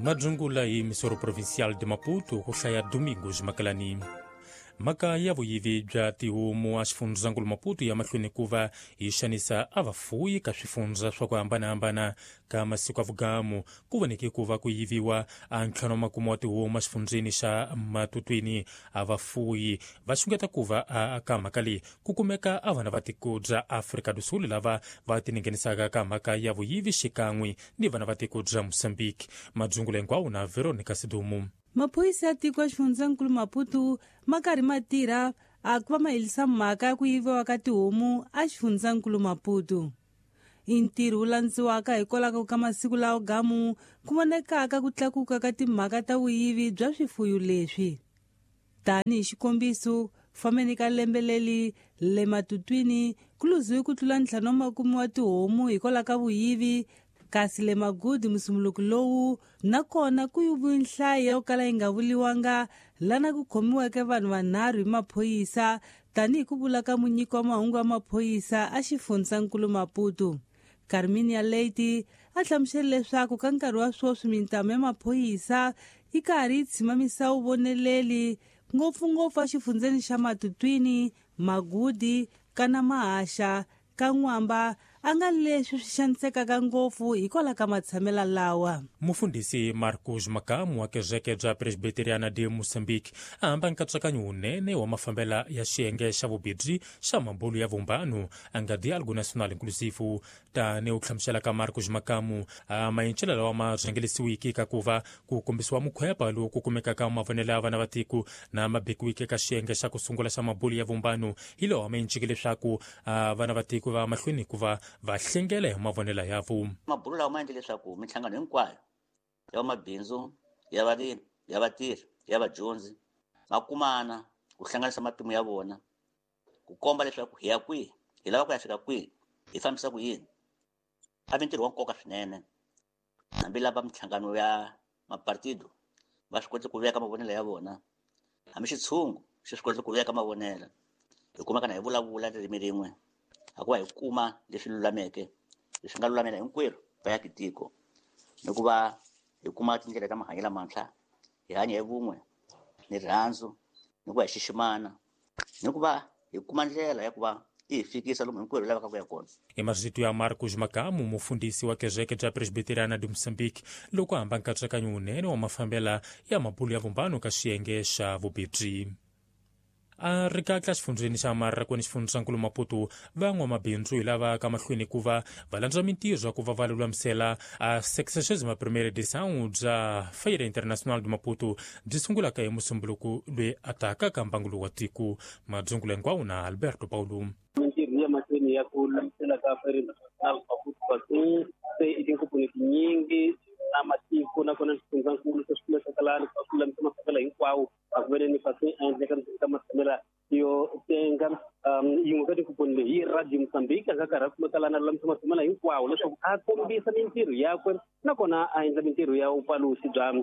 Madzungula hi Misoro Provincial de Maputo ku hlaya Domingos Makalani. Mhaka ya vuyivi bya tihomu a xifundzankulu Maputo ya mahlweni ku va yi xanisa a vafuyi ka swifundza swa ku hambanahambana. Ka masiku ya vugamu ku voneke ku va ku yiviwa a ntlhanu wa makume wa tihomu exifundzeni xa Matutwini. A vafuyi va xungeta ku va a ka mhaka leyi ku kumeka a vana va tiko bya Afrika do Sul lava va tiningenisaka ka mhaka ya vuyivi xikan'we ni vana va tiko bya Mozambique. Madzungula hinkwawo na Veronica Sidumu. Maphorisa ya tiko ya xifundzankulu Maputo ma karhi ma tirha a ku va ma herisa mhaka ya ku yiviwa ka tihomu a xifundzankulu Maputo. I ntirho wu landziwaka hikwalaho ka masiku lawa gamu ku vonekaka ku tlakuka ka timhaka ta vuyivi bya swifuyo leswi. Tanihi xikombiso, fambeni ka lembe leri le Matutwini ku luziwe ku tlula 50 wa tihomu hikwalaho ka vuyivi, kasi le Magudi musumuluko lowu nakona ku yiviwe nhlayo yo kala yi nga vuriwanga lana ku khomiweke vanhu vanharhu hi maphorisa tanihi ku vula ka munyiki wa mahungu ya maphorisa a xifundzankulu Maputo. Carminia Leite a hlamusele leswaku ka nkarhi wa sweswi mintamu ya maphorisa yi karhi yi tshimamisa vuvoneleli ngopfungopfu exifundzeni xa Matutwini, Magudi, kana Mahaxa, ka N'wamba a nga leswi swi xanisekaka ngopfu hikwalaho ka matshamelo lawa. Mufundhisi Marcos Makamu wa kereke bya Presbiteriana de Mozambique a hamba nkatsakanyo wunene wa mafambela ya xiyenge xa vubibyi xa mabulu ya vumbano a nga Diálogo Nacional Inclusivo. Tani u hlamusela ka Marcos Makamu a mayincelo lawa ma rhangelisiwiki ka ku va ku kombisiwa mukhwepa lowu ku kumekaka mavonelo ya vana va tiko na ma bekiwiki eka xiyenge xa ku sungula xa mabulu ya vumbano hi lawa ma yinciki leswaku vana va tiko va mahlweni ku va va hlengela hi mavonelo ya vo. Mabulu lawa ma endle leswaku minhlangano hinkwayo ya vamabindzu, ya varimi, ya vatirhi, ya vadyondzi va kumana ku hlanganisa matimu ya vona, ku komba leswaku hi ya kwihi, hi lava ku ya fika kwihi, hi fambisa ku yini. A vi ntirho wa nkoka swinene, hambi lava minhlangano ya mapartido va swi koti ku veka mavonelo ya vona, hambi xitshungu xi swi koti ku veka mavonelo, hi kumeka na hi vulavula ririmi rin'we, hikuva hi kuma leswi lulameke, leswi nga lulamela hinkwerhu va tiko, ni ku va hi kuma tindlela ta mahanyelo lamantshwa, hi hanya hi vun'we ni rirhandzu, ni ku va hi xiximana, ni ku va hi kuma ndlela ya ku va yi hi fikisa lomu hinkwerhu hi lavaka ku ya kona. I marito ya Marcos Makamu, mufundhisi wa kereke bya Presbiteriana de Mozambique, loko a hamba nkatsakanyo wunene wa mafambela ya mabulu ya vumbano ka xiyenge xa vubibyi. A ri katla xifundzeni xa Marrakweni xifundzankulu Maputo, van'wamabindzu hi lava ka mahlweni ku va va landza mintirho ya ku va va lulamisela a 61ª edição bya Feira Internacional de Maputo byi sungulaka hi Musumbuluku loyi a taka ka mbangu wa tiko. Madzungula hinkwawo na Alberto Paulo. Mintirho ya mahlweni ya ku lulamisela ka Feira Internacional Maputo se i tinkomponi tinyingi na matiko nakona xifundzankulu se swi kumeka ku lulamisa mafambelo hinkwawo a ku vele ni fasi a endleka ka matshamela yo tenga. Yin'we ka tinkomponi leyi hi Radio Mozambique a nga karhi a kumeka lana lulamisa matshamela hinkwawo leswaku a kombisa mintirho yakwe nakona a endla mintirho ya vupalusi bya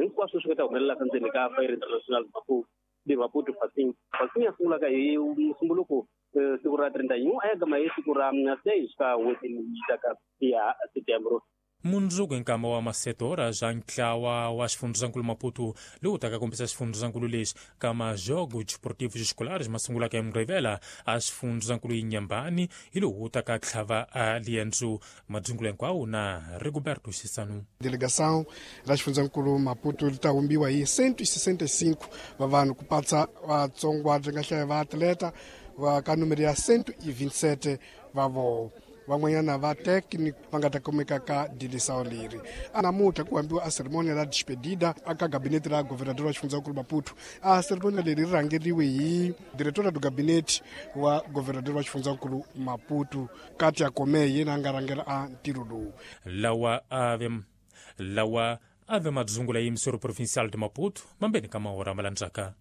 hinkwaswo swi nga ta humelelaka ndzeni ka Feira International Maputo de Maputo Fasing. Fasing ya sungulaka hi Musumbuluko siku ra 31 a ya gama hi siku ra 6 ka n'hweti leyi taka ya Setembro. Mundzuku hi nkama wa masetora bya ntlawa wa xifundzankulu Maputo lowu taka kombisa xifundzankulu lexi ka majogos desportivos escolares ma sungulaka hi Mugqivela a xifundzankulu Inhambane hi lowu taka tlhava a liendzo. Madzungula hinkwawo na Rigoberto Xisanu. Delegação ra xifundzankulu Maputo li ta humbiwa hi 165 va vanhu ku patsa vatsongwa byi nga hlaya va atleta va ka numero ya 127 va voho. Van'wanyana va technic va nga ta kumeka ka dilisao leri. Namuntlha ku hambiwa a ceremonia la despedida aka gabinete ra governador wa xifundzankulu Maputo. A ceremonia leri ri rhangeriwe hi diretora do gabinete wa governador wa xifundzankulu Maputo, Katia Kome, yena a nga rhangela a ntirho lowu. Lawa ave madzungula yimisoro Provincial de Maputo mambeni ka mahora malandzaka.